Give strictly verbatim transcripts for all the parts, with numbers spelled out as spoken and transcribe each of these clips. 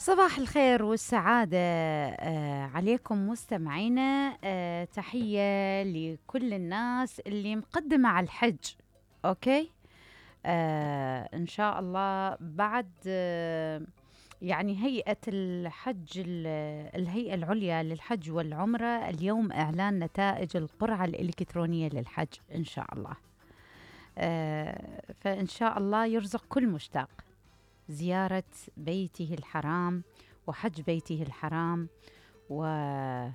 صباح الخير والسعادة آه عليكم مستمعينا. آه تحية لكل الناس اللي مقدمة على الحج. أوكي. آه إن شاء الله بعد آه يعني هيئة الحج الهيئة العليا للحج والعمرة اليوم إعلان نتائج القرعة الإلكترونية للحج إن شاء الله. آه فإن شاء الله يرزق كل مشتاق زيارة بيته الحرام وحج بيته الحرام، و آه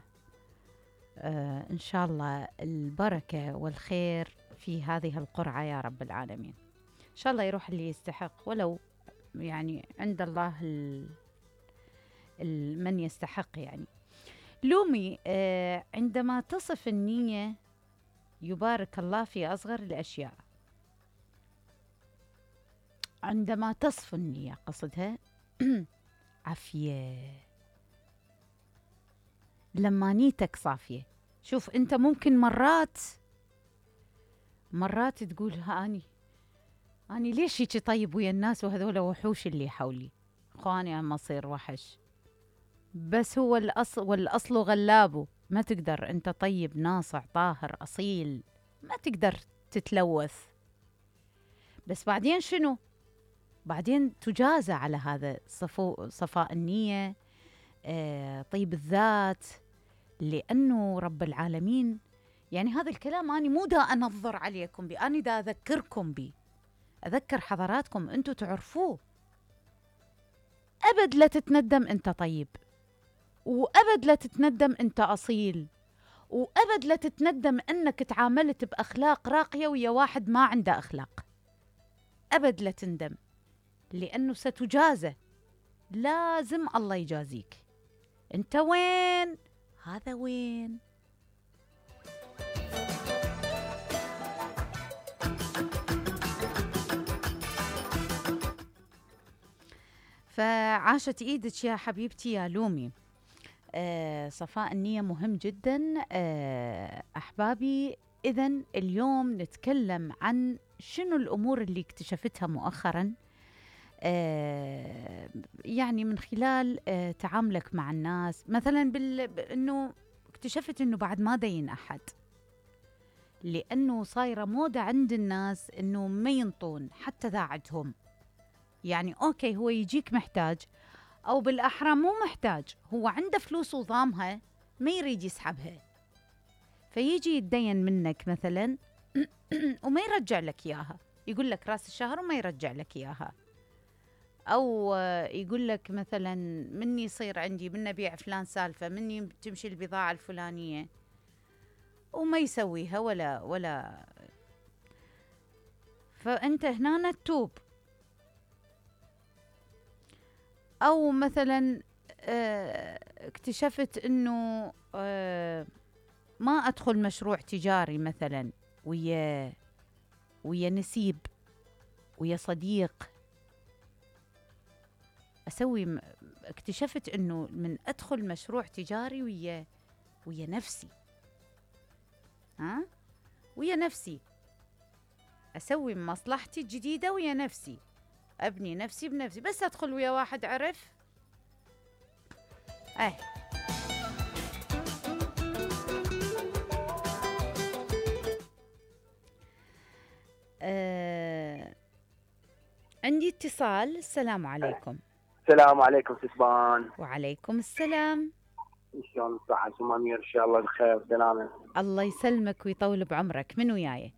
إن شاء الله البركة والخير في هذه القرعة يا رب العالمين. إن شاء الله يروح اللي يستحق، ولو يعني عند الله ال... ال... من يستحق. يعني لومي آه عندما تصف النية يبارك الله في أصغر الأشياء. عندما تصفو النية قصدها عافية، لما نيتك صافية. شوف أنت ممكن مرات مرات تقول هاني أني ليش هيك طيب ويا الناس وهذول وحوش اللي حولي، خواني أما أصير وحش، بس هو الأصل والأصل غلابه. ما تقدر أنت طيب ناصع طاهر أصيل، ما تقدر تتلوث. بس بعدين شنو؟ بعدين تجازى على هذا صفو صفاء النية، آه طيب الذات، لأنه رب العالمين. يعني هذا الكلام أنا مو دا أنظر عليكم بي، أنا دا أذكركم بي، أذكر حضراتكم أنتوا تعرفوه. أبد لا تتندم أنت طيب، وأبد لا تتندم أنت أصيل، وأبد لا تتندم أنك تعاملت بأخلاق راقية ويا واحد ما عنده أخلاق. أبد لا تندم، لأنه ستجازى، لازم الله يجازيك. أنت وين؟ هذا وين؟ فعاشت إيدك يا حبيبتي يا لومي. آه صفاء النية مهم جدا. آه أحبابي، إذن اليوم نتكلم عن شنو الأمور اللي اكتشفتها مؤخراً، آه يعني من خلال آه تعاملك مع الناس. مثلاً بال... إنه اكتشفت إنه بعد ما دين أحد، لأنه صايرة موضة عند الناس إنه ما ينطون حتى ذا عندهم. يعني أوكي هو يجيك محتاج، أو بالأحرى مو محتاج، هو عنده فلوس وضامها ما يريد يسحبها، فيجي يتدين منك مثلاً وما يرجع لك إياها، يقول لك راس الشهر وما يرجع لك إياها. أو يقول لك مثلاً مني يصير عندي من أبيع فلان سالفة، مني تمشي البضاعة الفلانية، وما يسويها ولا ولا فأنت هنا تتوب. أو مثلاً اه اكتشفت إنه اه ما أدخل مشروع تجاري مثلاً ويا ويا نسيب ويا صديق أسوي. اكتشفت إنه من أدخل مشروع تجاري ويا ويا نفسي، ها ويا نفسي أسوي مصلحتي الجديدة ويا نفسي، أبني نفسي بنفسي. بس أدخل ويا واحد عرف أه آه عندي اتصال. السلام عليكم. السلام عليكم سسبان. وعليكم السلام. ان شاء الله صحة ومامير، ان شاء الله بخير وسلامة. الله يسلمك ويطول بعمرك. من وياي؟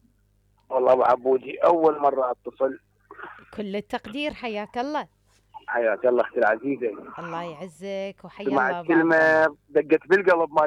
والله ابو عبودي، اول مرة اتصل. كل التقدير، حياك الله. حياك الله اختي العزيزة. الله يعزك وحيا الله. سمعت كلمة دقت بالقلب.